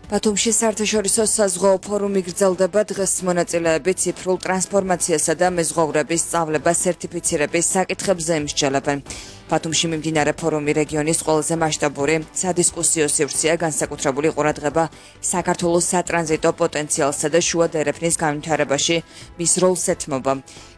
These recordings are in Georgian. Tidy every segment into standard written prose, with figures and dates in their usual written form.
ბათუმში საერთაშორისო საზღვაო ფორუმი გრძელდება. დღეს მონაწილეები ციფრულ ტრანსფორმაციასა და მეზღვაურების სწავლებას სერტიფიცირების საკითხებზე იმსჯელებენ. ბათუმში მიმდინარე ფორუმი რეგიონის ყველაზე მასშტაბური სადისკუსიო სივრცეა, განსაკუთრებული ყურადღება საქართველოს სატრანზიტო პოტენციალსა და შუა დერეფნის განვითარებაში მის როლს ეთმობა.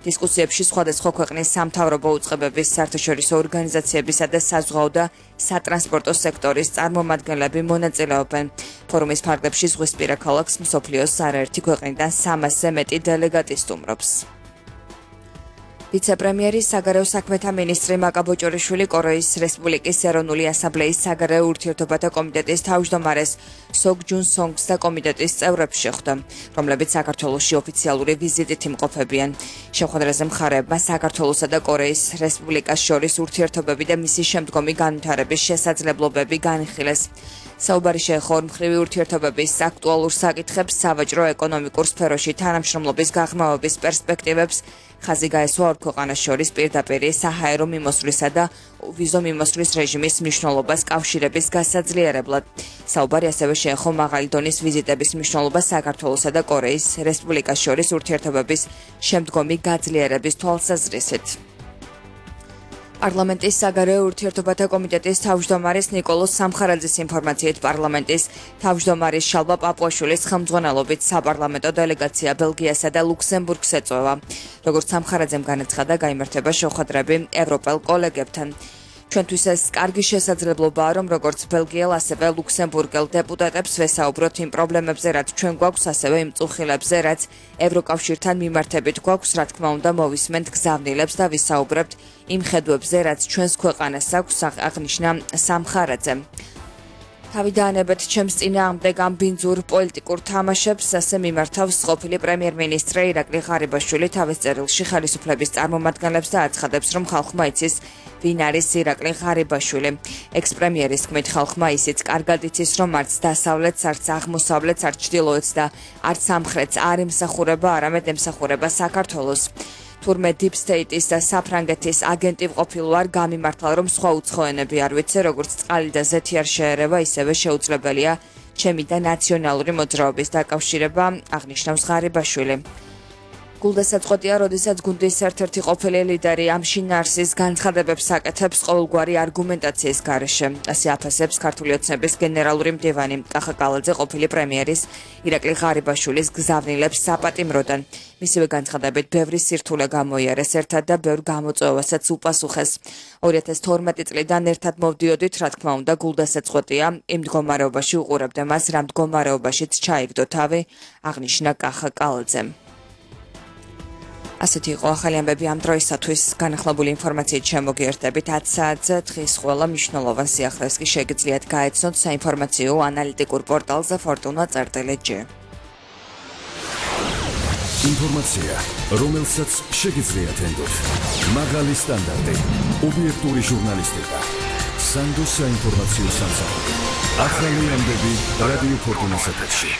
დისკუსიებში სხვადასხვა ქვეყნის სამთავრობო უწყებების, საერთაშორისო ორგანიზაციებისა და საზღვაო და სატრანსპორტო სექტორის წარმომადგენლები მონაწილეობენ. ფორუმის ფარგლებში ზღვისპირა ქალაქს მსოფლიოს არაერთი ქვეყნიდან 300-ზე მეტი დელეგატი სტუმრობს. ვიცე-პრემიერი საგარეო საქმეთა მინისტრი მაკა ბოჭორიშვილი კორეის რესპუბლიკის ეროვნული ასამბლეის საგარეო ურთიერთობათა კომიტეტის თავმჯდომარეს სოგ ჯუნ სონგს და კომიტეტის წევრებს შეხვდა, რომლებიც საქართველოში ოფიციალური ვიზიტით იმყოფებიან. შეხვედრაზე მხარეებმა საქართველოსა და კორეის რესპუბლიკას შორის ურთიერთობები და მისი შემდგომი განვითარების შესაძლებლობები განიხილეს. საუბარი შეეხო ორმხრივი ურთიერთობების აქტუალურ საკითხებს, სავაჭრო-ეკონომიკურ სფეროში თანამშრომლობის გაღრმავების პერსპექტივებს, ხაზი გაესვა ორ ქვეყანას შორის პირდაპირ საჰაერო მიმოსვლისა და ვიზო მიმოსვლის რეჟიმის მნიშვნელობას კავშირების გასაძლიერებლად. საუბარი ასევე შეეხო მაღალი დონის ვიზიტების მნიშვნელობას საქართველოსა და კორეის რესპუბლიკას შორის ურთიერთობების შემდგომი გაძლიერების თვალსაზრისით. პარლამენტის საგარეო ურთიერთობათა კომიტეტის თავმჯდომარის ნიკოლოზ სამხარაძის ინფორმაციით პარლამენტის თავმჯდომარის შალვა პაპუაშვილის ხელმძღვანელობით საპარლამენტო დელეგაცია ბელგიასა და ლუქსემბურგს ეწვევა. როგორც სამხარაძემ განაცხადა, გაიმართება შეხვედრები ევროპელ კოლეგებთან. ჩვენთვის ეს კარგი შესაძლებლობაა, რომ როგორც ბელგიელ, ასევე ლუქსემბურგელ დეპუტატებს ვესაუბროთ იმ პრობლემებზე, რაც ჩვენ გვაქვს, ასევე იმ წუხილებზე, რაც ევროკავშირთან მიმართებით გვაქვს, რა თქმა უნდა, მოვისმენთ გზავნილებს და ვისაუბრებთ იმ ხედვებზე, რაც ჩვენს ქვეყანას აქვს, აღნიშნა სამხარაძემ. თავი დაანებეთ ჩემს წინააღმდეგ ამ ბინძურ პოლიტიკურ თამაშებს, ასე მიმართავს ყოფილი პრემიერ-მინისტრი ირაკლი ღარიბაშვილი თავის წერილში ხელისუფლების წარმომადგენლებს და აცხადებს, რომ ხალხმა იცის, ვინ არის ირაკლი ღარიბაშვილი. ექს-პრემიერის თქმით, ხალხმა ისიც კარგად იცის, რომ არც დასავლეთს, არც აღმოსავლეთს, არც ჩრდილოეთს და არც სამხრეთს არ ემსახურება, არამედ ემსახურება საქართველოს. თურმე დიპ სტეიტის და საფრანგეთის აგენტი ვყოფილ ვარ, გამიმართლა, რომ სხვა უცხოენები არ ვიცი, როგორც წყალი და ზეთი არ შეერევა, ისევე შეუძლებელია ჩემი და ნაციონალური მოძრაობის დაკავშირება, აღნიშნავს ღარიბაშვილი. გულდასაწყვეტია, როდესაც გუნდის ერთ-ერთი ყოფილი ლიდერი ამ შინაარსის განცხადებებს აკეთებს ყოველგვარი არგუმენტაციის გარეშე. ასე აფასებს ქართული ოცნების გენერალური მდივანი კახა კალაძე ყოფილი პრემიერის ირაკლი ღარიბაშვილის გზავნილებს საპატიმროდან. მისივე განცხადებით, ბევრი სირთულე გამოიარეს ერთად და ბევრ გამოწვევასაც უპასუხეს. 2012 წლიდან ერთად მოვდიოდით, რა თქმა უნდა, გულდასაწყვეტია, იმ მდგომარეობაში უყურებდა მას, რა მდგომარეობაშიც ჩაიგდო თავი, აღნიშნა კახა კალაძემ. ასეთი იყო ახალი ამბები ამ დროისათვის. განახლებული ინფორმაციით შემოგიერთდებით 10 საათზე. დღის ყველა მნიშვნელოვან სიახლეს კი შეგიძლიათ გაეცნოთ საინფორმაციო ანალიტიკურ პორტალზე fortuna.gr. ინფორმაცია, რომელსაც შეგიძლიათ ენდოთ. მაღალი სტანდარტი, ობიექტური ჟურნალისტიკა. სანდო საინფორმაციო სამსახური. ახალი ამბები რადიო ფორტუნას ეთერში.